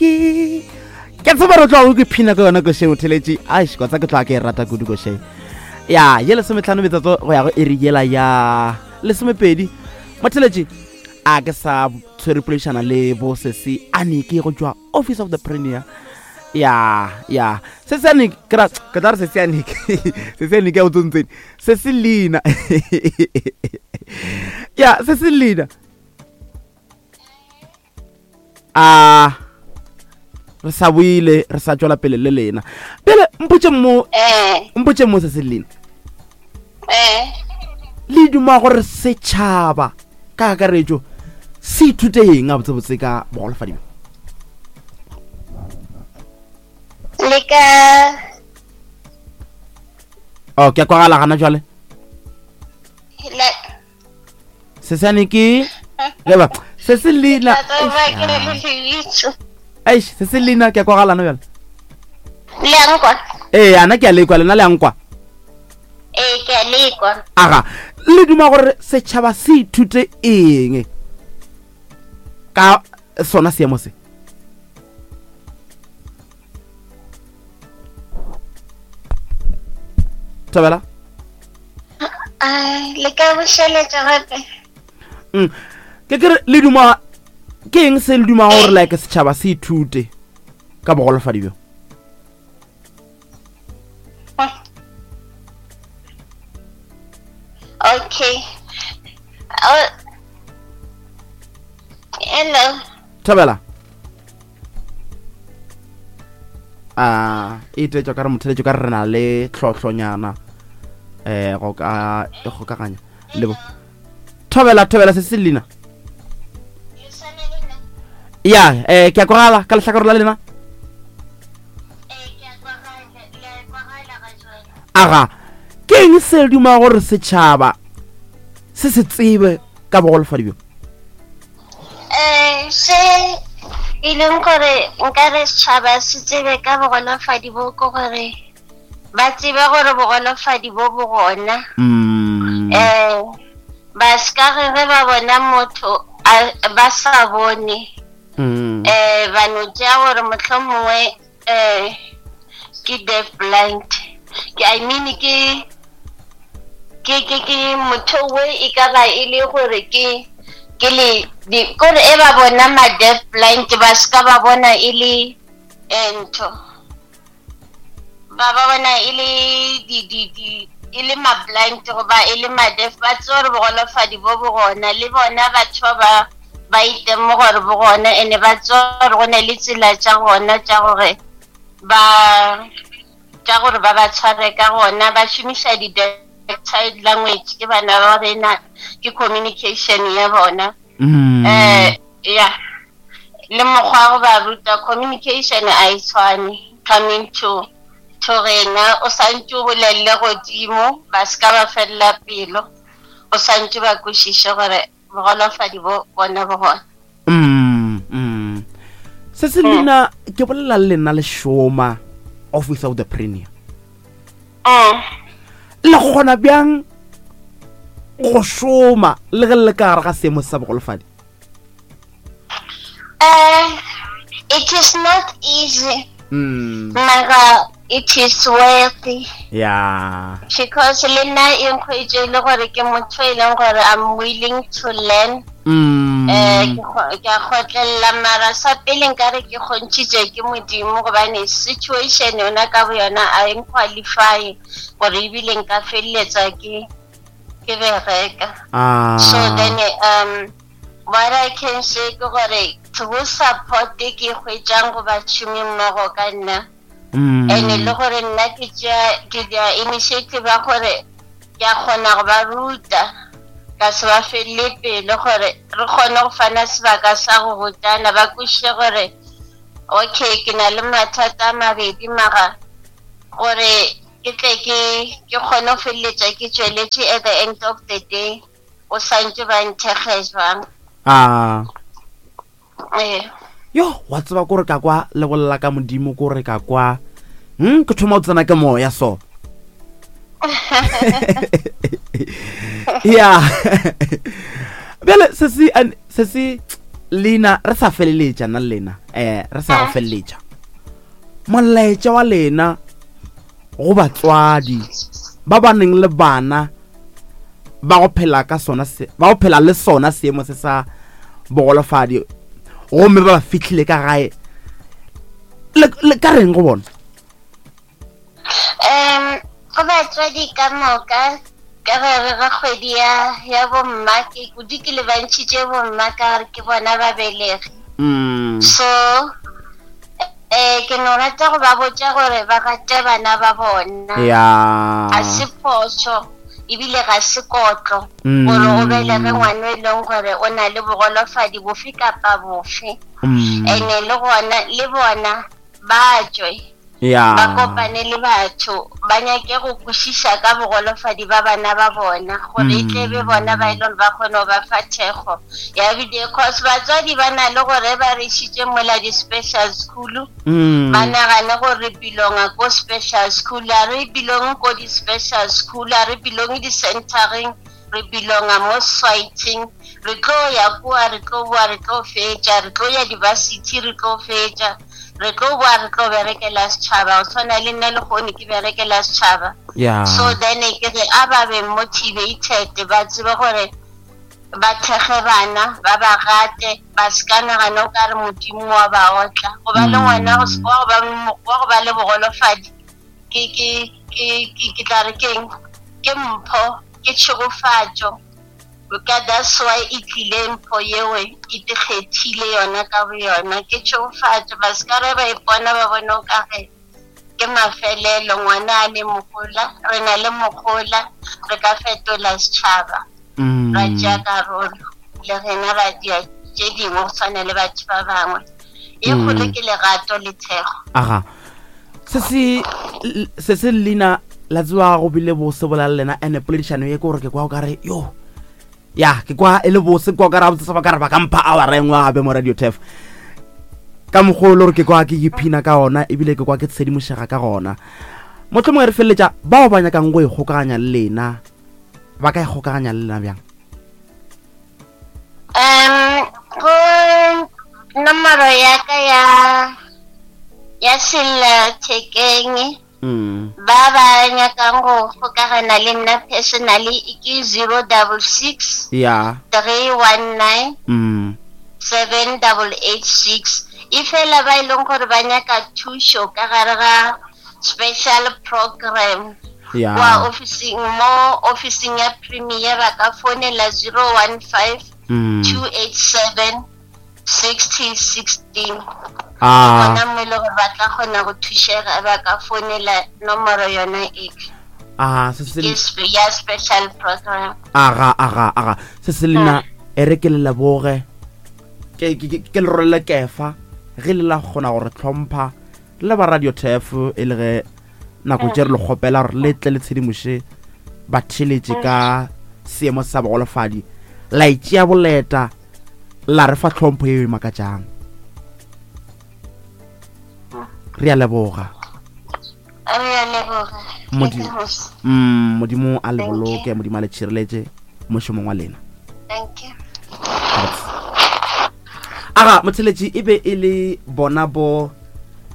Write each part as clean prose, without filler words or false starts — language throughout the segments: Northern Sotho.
Ke ke tseba re tloga ke phina ka yona košeng o theletše aish kwa tsa ke tloga ke e rata kudu košeng ya ye lesometlhano metsotso go ya go iri yela ya lesomepedi motheletše a ke sa tshwere poledišana le bo sesi anike go tšwa office of the premier ya ya se se anike ke ra ke tla re se se anike se se anike ya o tsontseng se se leina ya se se leina a re sa boile re sa tšwela pele le lena pele mpotše mo eh. mpotše mo se se lena eh. le duma gore setšhaba ka kakaretšo se ithute eng a botsebotse ka bogolofadi bjo le ka o oh, ke a kwagala gana jwale sesane ke leba se se leina eish se se leina ke a kwagalana bjale le a nkwa ee ana ke a lekwa lena le a nkwa ee ke a lekwa aga le duma gore setšhaba se ithute eng ka sona seemo se thabela le ka bošeletša gape mm. ke kere le duma ke eng se le dumago gore like setšhaba se ithute ka bogolofadi bjo okay oh. hello thabela a e tetšwa ka re motheletšo ka re re na le tlhohlonyana um go ka e kgokaganya le bo thobela thobela se se lena ya um ke a kwagala ka lehlakore la lena aga ke eng se duma gore setšhaba se se tsebe ka bogolofadi bjo um se e leng gore nka re setšhaba se tsebe ka bogolofadi bo ke gore ba tsebe gore bogolofadi bo bo gona um ba se ka ge ge ba bona motho ba sa bone um ba no tšea gore mohlomongwe um ke deaf blind ke i mean ke ke ke ke motho we e ka ba e le gore ke ke le di kore e ba bona ma deaf blind ba se ka ba bona e le eh, ntho ba ba bona e le di di di e le ma blind goba e le ma deaf ba tsebe gore bogolofadi bo bo gona le bona batho ba ba ba itemo gore bo gona ene ba tsebe gore go ne le tsela tša gona tša gore ba tša gore ba ba tshware ka gona ba šomiša di-child language ke bana ba rena ke communication ya bona um ya le mokgwa go ba ruta communication a e tshwane coming to to rena o santse o bolelele godimo ba se ka ba felela pelo o santse ba kwešiše gore bogolofadi bo bona bo gona mm, mm. se se lena ke bolela le lena le šoma office of the premier mm. le kgona bjang go šoma le ge le le ka gare ga seemo sa bogolofadi Uh, it is not easy. Mm. Mara it is worthy. Yeah. Because le nna e nkgwetše le gore ke motho e leng gore I'm willing to learn. Mm. Eh, ke a kgotlelela mara sa pele nkare ke kgontšhitše ke modimo gobane situation yona ka bo yona a e nqualify gore ebile nka feleletsa ke ke bereka. Ah. So then um What I can say ke gore through support e ke e hwetšang go bašomi mmogo ka nna mm. and le gore nna ke tšea ke dia initiative ya gore ke a kgona go ba ruta ka se ba felele pele gore re kgone go fana sebaka sa go rutana ba kwešiše gore okay ke na le mathata a mabedi mara gore ke tle ke ke kgone go feleletša ke tšweletše at the end of the day o santse ba nthekge jwang a ee yo wa tseba kore ka kwa le bolela ka modimo kore ka kwa hmm ke thoma o tsena ke moya so ya bjale se se se se leina re sa feleletša nna le lena um re sa go feleletša molaetša wa lena go batswadi ba ba neng le bana ba go phela ka sona se ba go phela le sona seemo se sa bogolofadi gomme ba ba fihlile ka gae le ka reng go bona um go batswadi ka moka ka gare ga kgwedi ya ya bomma ke kudu ke lebantšhitše bomma ka gore ke bona babelegi mm. so eh ke no rata go ba botša gore ba rate bana ba bona ya ga se phoso ebile ga se kotlo mm. gore o belege ngwana e leng gore o na le bogolofadi bofe kapa bofe mm. ene le gona le bona ba tšwe ya ba kopane le batho ba nyake go kwešiša ka bogolofadi ba bana ba bona gore e tle be bona ba e leng ba kgone go ba fa thekgo ya bile cause batswadi ba na le gore ba re išitše mola di-special school mm. ba nagane gore re belonga ko special school a re belong ko di-special school a re belong di-centering re belonga mo society re tlo ya kua re tlo boa re tlo fetša re tlo ya di-varsity re tlo fetša re tlo boa re tlo berekela setšhaba go tshwana le nna le kgone ke berekela setšhaba yeah. so then ke re a ba be motivated ba tsebe gore ba thekge bana ba ba rate ba se ka nagana o ka re modimo wa ba otla go ba le mm. ngwana wa go ba le bogolofadi ke ke ke ke tla re keng ke mpho ke tšhegofatšo Ka that's why e tlile mpho yeo e ikgethile yona ka boyona. Ke tšhegofatšo, ba se ka re ba ipona ba bone o ka re ke mafelelo ngwana a le mogola, re na le mogola, re ka fetola setšhaba, mm. ra tšea karolo le rena ra dia tše dingwe go tshwana le batho ba bangwe. E mm. kgolo ke lerato le thekgo. Aga. Se se se se leina la tsewa go bile bose bola le lena ene poledišano ye ke gore ke kwa o kare yo ya ke kwa e le bose kwa o kare gabotse ba kare ba ka mpha awara e nngwe gape mo radio tef ka mokgwa o le gore ke kwa ke iphina ka ona ebile ke kwa ke tshedimošega ka gona mohlomongwe re feleletša bao ba nyakang go ikgokaganya le lena ba ka ikgokaganya le lena bjang um go nomoro ya ka ya ya sellathekeng mm. ba ba nyakang go kgokagana le nna personally ke 066 ya 319 mm. 7886 e fela ba e leng gore ba nyaka thušo ka gare ga special program ya kwa officing mo officing ya premier ba ka founela 015 mm. 287 6016 ah. gona mo e le gore ba tla kgona go thušega ba ka founela nomoro yona e ah se se ke ya special program aga aga aga se se lena e re ke le leboge ke ke ke le rolele kefa ge le la kgona gore tlhompha le ba radio tef e le ge nako tše re le kgopela gore le tle le tshedimoše batheletše ka seemo sa bogolofadi la itšea boleta la re fa tlhompho e e makatšang re a leboga re a leboga modimo mm, a le boloke modimo a le tšhireletše mošomong wa lena thank you aga motheletši e be e le bona bo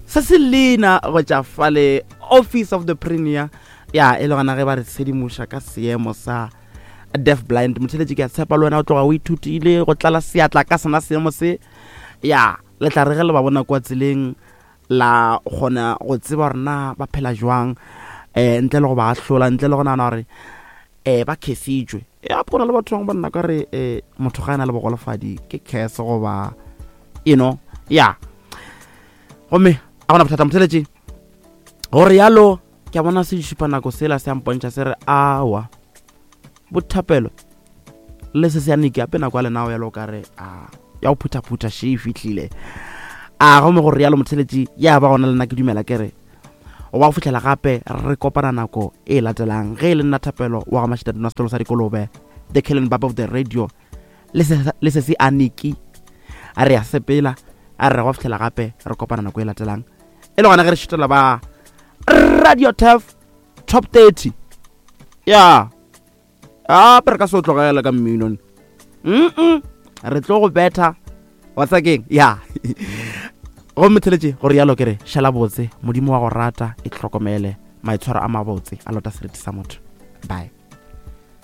se se lena go tša fale office of the premier ya e le gona ge ba re tshedimoša ka seemo sa deaf blind motheletši ke a tshepa le wena o tloga o ithutile go tlala seatla ka sona seemo se ya le tla re ge le ba bona kwa tseleng la kgona go tseba gore na ba phela jwang um ntle le go ba ahlola ntle le go nagana gore um ba khesitšwe ya go na le batho bangwe ba nna ka re um motho ga e na le bogolofadi ke curse goba you know ya gomme a gona bothata motheletše gore yalo ke a bona se šupa nako sela se a mpontšha se re awa bothapelo le se se ya neke ape nako ya lenao yalo ka re a ya go phuthaphutha še e fihlile a gomme gore yalo motheletši ya ba gona le nna ke dumela ke re wa go fitlhela gape re kopana nako e latelang ge e le nna thapelo wa ga mašitaduna setolo sa dikolobe the killing bab of the radio le se se aniki a re ya sepela a re go fitlhela gape re kopana nako e latelang e le gona ge re šutela ba radio tef top 30 ya gape re ka se o tlogela ka mmino mm re tlo go betha wa tsakeng ya. Gomme theletše gore yalo ke re šala botse, Modimo wa go rata, e hlokomele, maitshwaro a mabotse a lota seriti sa motho. Bye.